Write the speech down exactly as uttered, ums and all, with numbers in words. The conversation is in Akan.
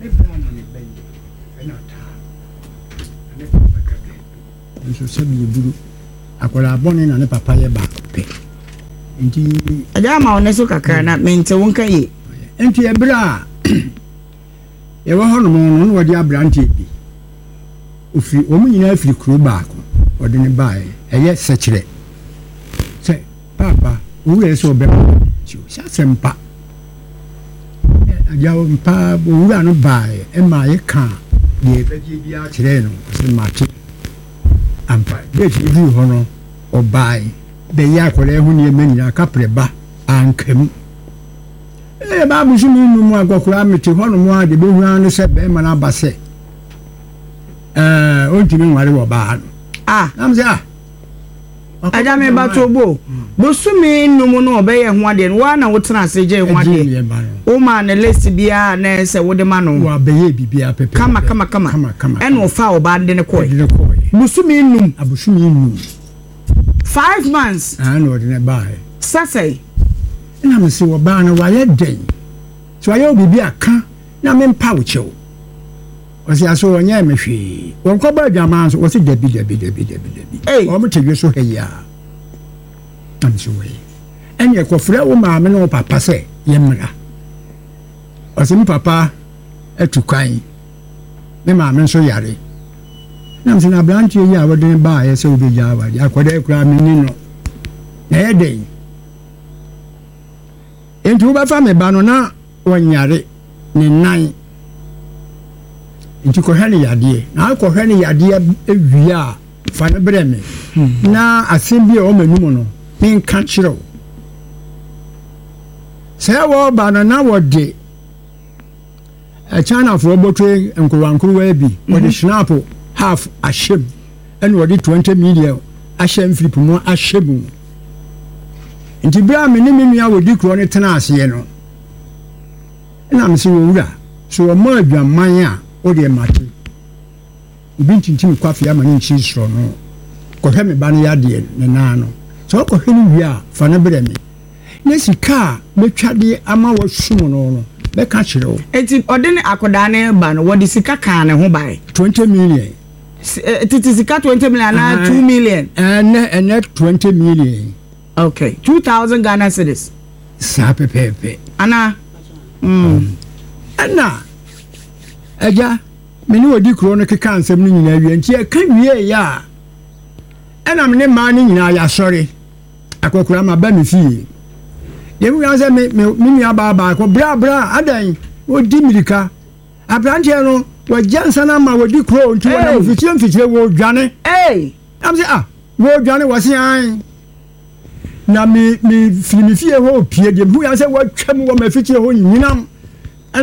Me bra na ne ba yi ɛna taa na ne papa ka dɛ nso sɛbi eburu akwadaa bɔne na ne papa yɛ baako pɛ nti. Ɛgya ama wo ne so kakra na mente wo nka yie. Nti ɛberɛ a yɛwɔ hɔnom no, na wɔde aberanteɛ bi ofiri, wɔn nyinaa firi kuro baako, wɔde ne baeɛ ɛyɛ sɛkyerɛ sɛ paapa owura yɛ sɛ ɔbɛma nti sɛ asɛm pa agya mpa owura no baeɛ ɛma yɛka deɛ ɛbɛgye biara kyerɛɛ no, ɔsɛ mate ampa. Date duru hɔ no, ɔbaeɛ bɛyɛ akwadaa ho nneɛma nyinaa kaprɛ ba anka mu. Ɛyɛ baabu so mi num akɔkora mete hɔ nom a de bɛhu ara ne sɛ bɛrima no aba sɛ ɛɛ ɔntumi nware wɔ baa no. Ah. Nam sɛ ah. Agya mi ba to bo bosome num no ɔbɛyɛ ho adeɛ no waa na wotena ase gye ho adeɛ woma ne list biara na ɛsɛ wode ma no. Wabɛyɛ biribiara pɛpɛ. Kama kama kama. Kama kama. Ɛna ɔfa ɔbaa de ne kɔɛ. Ɛde ne kɔɛ. Bosome num. Abosome num. Five months. Ah, na ɔde ne baeɛ. Sɛsɛe. Ɛna me sɛ ɔbaa no wayɛ dɛn sɛ wayɛ wo biribi aka na mempa wo kyɛw. Ɔsɛ aso ɔnyɛ me hwee. Wɔnkɔbɔ adwaman nso wɔsɛ dabi dabi dabi dabi dabi. Wɔn te dwe so ha yi a. Na me sɛ wɔyɛ. Ɛne ɛkɔfrɛ wo maame ne wo papa sɛ yɛmmra. Ɔsɛ me papa atu kwan. Me maame nso yare. Na me sɛ na aberanteɛ yi a wɔde ne baeɛ sɛ wobɛgya awadeɛ akɔda koraa menni no. Na ɛyɛ dɛn? Nti wobɛfa me ba no na wɔnyare ne nan. Nti kɔhwɛ ne yadeɛ. Na akɔhwɛ ne yadeɛ wie a fa no brɛ me. Na asɛm bi a ɔma anim no menka kyerɛ wo. Sɛ wɔba no na wɔde Chinafoɔ bɔtwe nkorowankorowa bi wɔde schnapp half ahyɛ mu ɛna wɔde twenty million ahyɛ mfiripo mu ahyɛ mu. Nti bere a me ne me nua wɔdi kuro no tena aseɛ no ɛna me sɛ wɔwura so wɔma adwaman a wode mate obi ntintim kwafe ama ne nkyi soro no kɔhwɛ me ba no yadeɛ ne nan no sɛ wɔkɔhwɛ no wie a fa no brɛ me na sika a mɛtwa de ama wɔsum no no bɛka kyerɛ wo. Eti ɔde ne akwadaa ne ba no wɔde sika kaa ne ho bae. twenty million. Titi sika twenty million anaa two million. Ɛnɛ ɛnɛ twenty million. Okay, two thousand Ghana cedis. Saa pɛpɛɛpɛ. Ana. Mm. Ɛna agya me ne odi kuro no keka nsɛm no nyinaa wie nti ɛka wie yɛ a ɛna me ne mmaa no nyinaa yɛasɔre akɔkora ma ba me fie. Deɛ mu sɛ me me me nua baa baako bra bra adan odi mirika aberanteɛ no wɔgya nsa no ama wɔdi kuro nti wɔnam mfikyire mfikyire wɔredwane. Am sɛ ah wɔredwane wɔse an na me me firi me fie hɔ pie deɛ mu sɛ wɔatwa mu wɔ m'afikyire hɔ nyinam